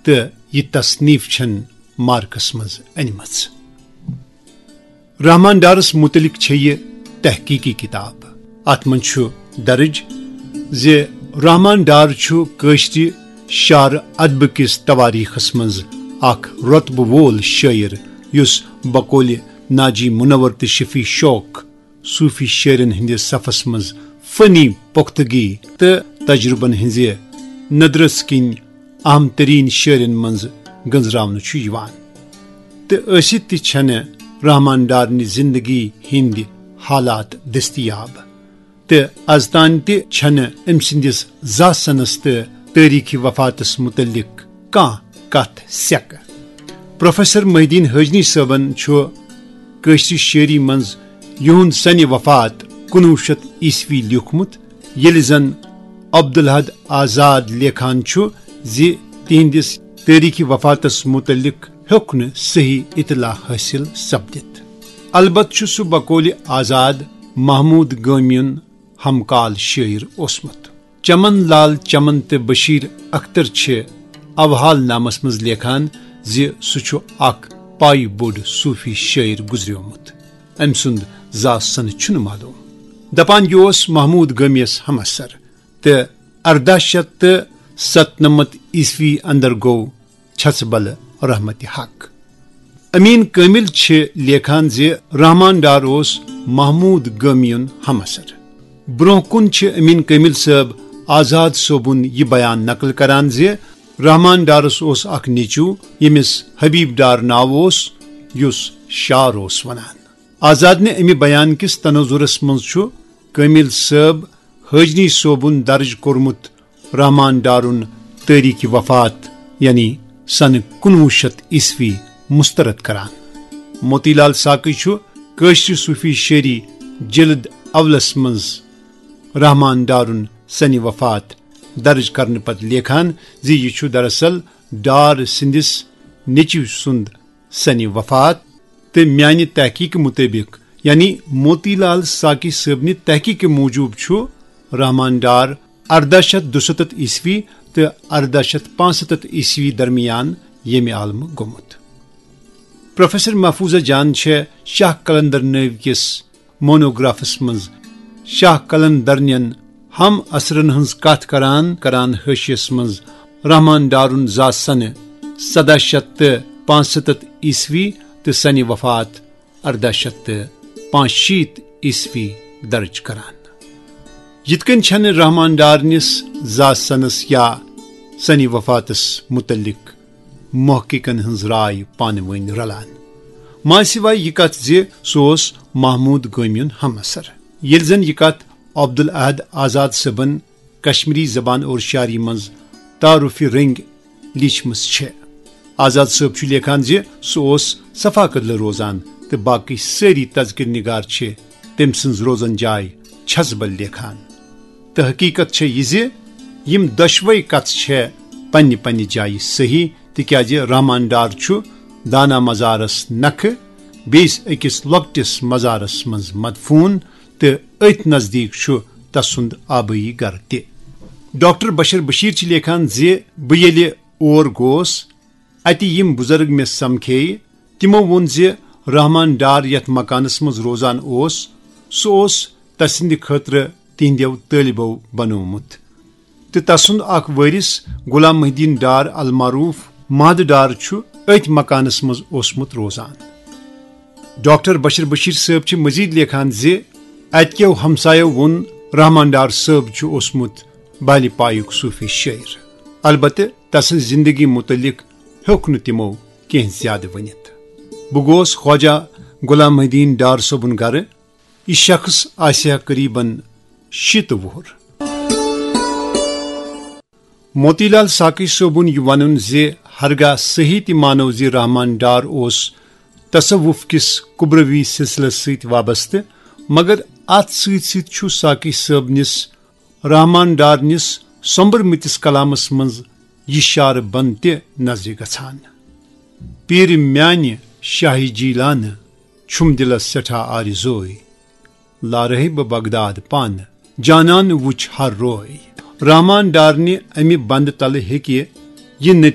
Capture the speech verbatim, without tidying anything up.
تہٕ یہِ تصنیف چھن مارکس منٛز أنمٕژ۔ رحمان ڈارس متعلق چھےٚ یہِ تحقیقی کتاب۔ اتھ منٛز چھُ درج زِ رحمان ڈار چھُ کٲشرِ شعر ادبہٕ کِس تواریخس منٛز اکھ رۄتبہٕ وول شٲعر، یُس بقولِ ناجی منور تہٕ شفیع شوق صوفی شٲعرن ہٕنٛدِس صفس منٛز فنی پختگی تہٕ تجربن ہٕنٛزِ ندرژ کِنۍ اہم ترین شٲعرن منٛز گنزراونہٕ چھُ یِوان۔ تہٕ ٲسِتھ تہِ چھنہٕ رحمان ڈارنہِ زندگی ہٕنٛدۍ حالات دٔستیاب، تہٕ از تام تہِ چھنہٕ أمۍ سٕنٛدِس زاہ سنس تہٕ تٲریخی وفاتس متعلق کانٛہہ کتھ سیکہٕ۔ پروفیسر محی الدین حٲجنی صٲبن چھُ کٲشرِ شٲعری منٛز یِہُنٛد سنِ وفات کُنوُہ شیٚتھ عیسوی لیوٗکھمُت، ییٚلہِ زن عبدالحد آزاد لیکھان چھُ زِ تِہنٛدِس تٲریخی وفاتس متعلق ہیوٚک نہٕ صحیح اطلاع حٲصِل سپدِتھ۔ البتہٕ چھُ سُہ بقولِ آزاد محمود گٲمی یُن ہمکال شٲعر اوسمُت۔ چمن لال چمن تہٕ بشیر اختر چھِ اوحال نامس منٛز لیکھان زِ سُہ چھُ اکھ پایہِ بوٚڑ صوفی شٲعر گُزریومُت۔ أمۍ سُنٛد زاہ سنہٕ چھُنہٕ معلوم۔ دپان یہِ اوس محمود گٲمی یس ہمعصر تہٕ ارداہ شیٚتھ تہٕ ستنمتھ عیسوی اندر گوٚو چھژٕ بل رحمتِ حق۔ امین کامل چھِ لیکھان زِ رحمان ڈار اوس محمود گٲمی یُن ہمعصر۔ برونٛہہ کُن چھِ امین کامل صٲب آزاد صٲبُن یہِ بیان نقل کران زِ رحمان ڈارس اوس اکھ نیٚچو، ییٚمِس حبیب ڈار ناو اوس، یُس شعر اوس ونان۔ آزادنہِ امہِ بیان کِس تناظرس منٛز چھُ کامل صٲب حٲجنی صٲبُن درج کوٚرمُت رحمان ڈارُن تٲریخِ وفات، یعنی سنہٕ کُنوُہ شیٚتھ عیسوی، مسترد کران۔ موتی لال ساقی چھُ کٲشرِ صوفی شٲعری جلد اولس منٛز رحمان ڈارُن سنِ وفات درج کرنہٕ پتہٕ لیکھان زِ یہِ چھُ دراصل ڈار سٕنٛدِس نیٚچوۍ سُنٛد سنِ وفات، تہٕ میانہِ تحقیقہٕ مُطٲبِق، یعنی موتی لال ساقی صٲبنہِ تحقیقہٕ موٗجوٗب، چھُ رحمان ڈار ارداہ شیٚتھ دُستتھ عیسوی تہٕ ارداہ شیٚتھ پانٛژستتھ عیسوی درمیان ییٚمہِ عالمہٕ گوٚمُت۔ پروفیسر محفوظہ جان چھےٚ شاہ قلندر نٲوۍ کِس مونوگرافس منٛز شاہ قلندر نٮ۪ن ہم عصرن ہٕنٛز کتھ کران کران حٲشیس منٛز رحمان ڈارُن زاہ سنہٕ سداہ شیٚتھ تہٕ پانٛژستتھ عیسوی تہٕ سنِ وفات ارداہ شیٚتھ تہٕ پانٛژشیٖتھ عیسوی درج کران۔ یِتھ کٔنۍ چھنہٕ رحمان ڈارنِس زاہ سنس یا سنِ وفاتس متعلق محققن ہٕنٛز راے پانہٕ ؤنۍ رلان، ما سوائے یہِ کتھ زِ سُہ اوس محمود گٲمی یُن ہم عصر۔ ییٚلہِ زن یہِ کتھ عبدالاحد آزاد صٲبن کشمیری زبان اور شاعری منٛز تعارفی رنگ لیچھمٕژ چھےٚ۔ آزاد صٲب چھُ لیکھان زِ سُہ اوس صفا کدلہٕ روزان تہٕ باقٕے سٲری تذکرٕ نگار چھِ تٔمۍ سٕنٛز روزن جاے چھژبل لیکھان۔ تہٕ حقیقت چھےٚ یہِ زِ یِم دۄشوے کتھٕ چھےٚ پننہِ پننہِ جایہِ صحیح، تِکیازِ رحمان ڈار چھُ دانا مزارس نکھٕ بیٚیِس أکِس لۄکٹِس مزارس منٛز مدفوٗن، تہٕ أتھۍ نزدیٖک چھُ تسُنٛد آبٲیی گرٕ تہِ۔ ڈاکٹر بشر بشیر چھِ لیکھان زِ بہٕ ییٚلہِ اور گوس، اتہِ یِم بُزرگ مےٚ سمکھییہِ، تِمو ووٚن زِ رحمان ڈار یتھ مکانس منٛز روزان اوس، سُہ اوس تسٕنٛدِ خٲطرٕ تِہنٛدیو طٲلبو بنوومُت، تہٕ تسُنٛد اکھ وٲرِث غلام محی الدین ڈار المعروف مہد ڈار چھُ أتھۍ مکانس منٛز اوسمُت روزان۔ ڈاکٹر بشر بشیر صٲب چھِ مزید لیکھان زِ اتہِ کیو ہمسایو ووٚن، رحمان ڈار صٲب چھُ اوسمُت بالِ پایُک صوفی شٲعر، البتہٕ تسٕنٛز زندگی متعلق ہیوٚک نہٕ تِمو کینٛہہ زیادٕ ؤنِتھ۔ بہٕ گوس خواجہ غلام محی الدین ڈار صٲبُن گرٕ۔ یہِ شخص آسہِ ہا قریباً شیٖتہٕ وُہُر۔ موتی لال ساقی صٲبُن یہِ ونُن زِ ہرگاہ صحیح تہِ مانو زِ رحمان ڈار اوس تصوف کِس کبروی سلسلس سۭتۍ وابستہٕ، مگر اتھ سۭتۍ سۭتۍ چھُ ساقی صٲبنِس رحمان ڈارنِس سۄمبرمٕتِس کلامس منٛز یہِ شعرٕ بند تہِ نظرِ گژھان۔ پیٖرِ میانہِ شاہہِ جیلانہٕ چھُم دِلس سٮ۪ٹھاہ آرزوے، لارہے بہٕ بغداد پانہٕ، جانان وُچھ ہر روے۔ رحمان ڈارنہِ امہِ بندٕ تلہٕ ہیٚکہِ یہِ نٔتیٖجہٕ